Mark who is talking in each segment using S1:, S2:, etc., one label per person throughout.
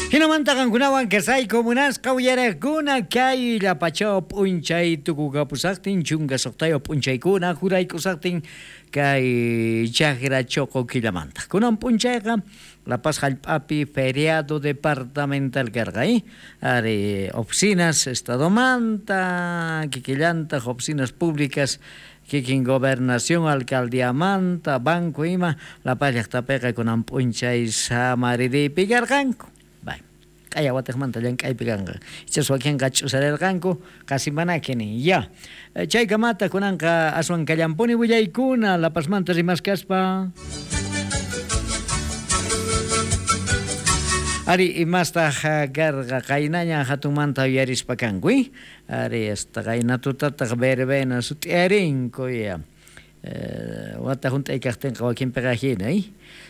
S1: Hinamanta qankunawan kasayku munasqa uyariqkuna kay llapachaw p'unchay tukukapusaqtin 16 p'unchaykuna juraykusaqtin kay chakra choqo killamanta. Kunan p'unchayqa La Paz hallp'api feriado departamental karqa, ari oficinas estadomanta, kikillantaq oficinas públicas kikin gobernación alcaldiamanta, banco ima La Paz llaqtapiqa kunan p'unchay samaririypi karqanku. Bay. Q'aya watejmanta llank'aypi kanqa. Ichas wakinqa ch'usarerqanku, qasi manaki nin. Ya. Chaykamata kunanqa aswan kallampuni willaykuna La Pazmanta rimaskaspa. Ari, imastaq karqa qaynaña hatunmanta uyarispa kanku, Ari, hasta qayna tutataq verbena sut'iyarinku, ya. Wata hunt'ay kaqtinqa wakinpiqa hina,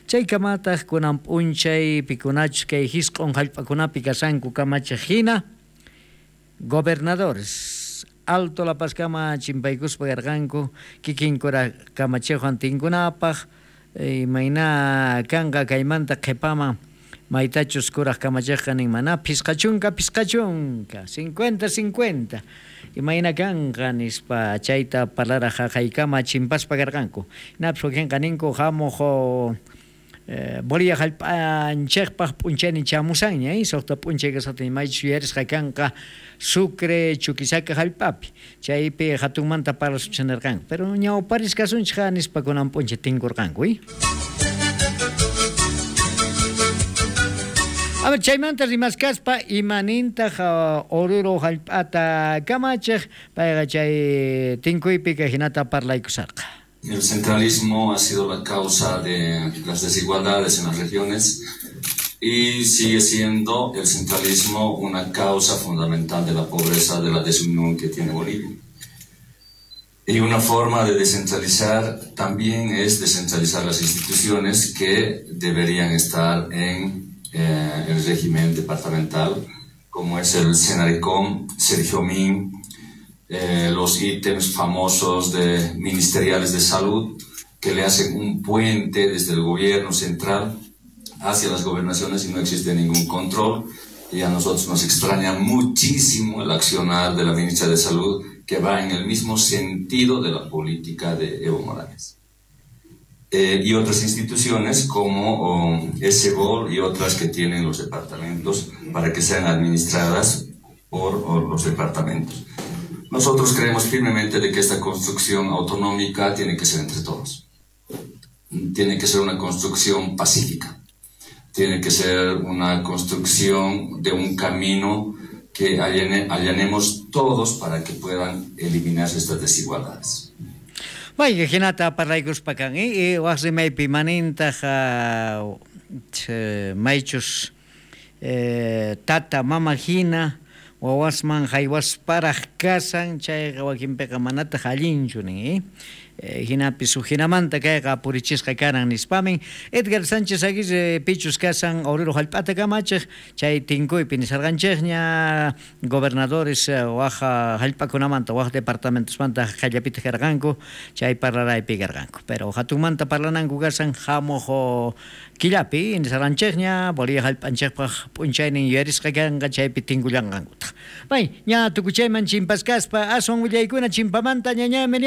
S1: Chaykamataq kunan p'unchay pikunachus kay hisq'on hallp'akunapi kashanku kamachiq hina, gobernadores Alto La Pazkama chimpaykuspa karqanku kikinkura kamachiqwan tinkunapaq, imayna kanqa kaymanta qhipaman maytachus kuraq kamachiqqa nin mana 50 50, 50 50, imayna kanqa nispa chayta parlaraq haqaykama chimpaspa karqanku. Hinapis wakinqa ninku hamuq Bolivia hallp'anchikpaq p'unchaynin chamusanña, 6 p'unchay kasqatin maychus yuyarisqa kanqa Sucre Chuquisaca hallp'api, chaypi hatunmanta parlasunchik nirqanku, pero ñawparisqasunchik nispa kunan p'unchay tinkurqanku. A ver, chaymanta rimaskaspa imanintaq Oruro hallp'ata kamachiq, payqa chay tinkuypi kay hinata parlaykusarqa.
S2: El centralismo ha sido la causa de las desigualdades en las regiones y sigue siendo el centralismo una causa fundamental de la pobreza, de la desunión que tiene Bolivia. Y una forma de descentralizar también es descentralizar las instituciones que deberían estar en el régimen departamental, como es el Senarecom, Sergio Min, los ítems famosos de ministeriales de salud que le hacen un puente desde el gobierno central hacia las gobernaciones y no existe ningún control. Y a nosotros nos extraña muchísimo el accionar de la ministra de Salud, que va en el mismo sentido de la política de Evo Morales. Y otras instituciones como SBOL y otras que tienen los departamentos para que sean administradas por los departamentos. Nosotros creemos firmemente de que esta construcción autonómica tiene que ser entre todos. Tiene que ser una construcción pacífica. Tiene que ser una construcción de un camino que allanemos todos para que puedan eliminarse estas desigualdades.
S1: Vaya, hinata parlaykuspa kan, waq rimaypi manintaq maychus tata mama hina wawasman haywasparaq kasan chayqa wakinpiqa manataq allinchu nin, hinapis huk hinamanta kayqa purichisqa karan nispamin Edgar Sánchez Aguirre pichus kasan Oruro hallp'ata kamachiq chay tinkuypi nisarqanchikña gobernadores waq hallp'akunamanta waq departamentosmanta qallapitaq karqanku chay parlaraypi karqanku pero hatunmanta parlananku kasan hamuq killapi nisarqanchikña Bolivia hallp'anchikpaq p'unchaynin yuyarisqa kanqa chaypi tinkullanqankutaq. Bay, ña tukuchayman chimpaskaspa aswan willaykuna chimpamanta ñañami.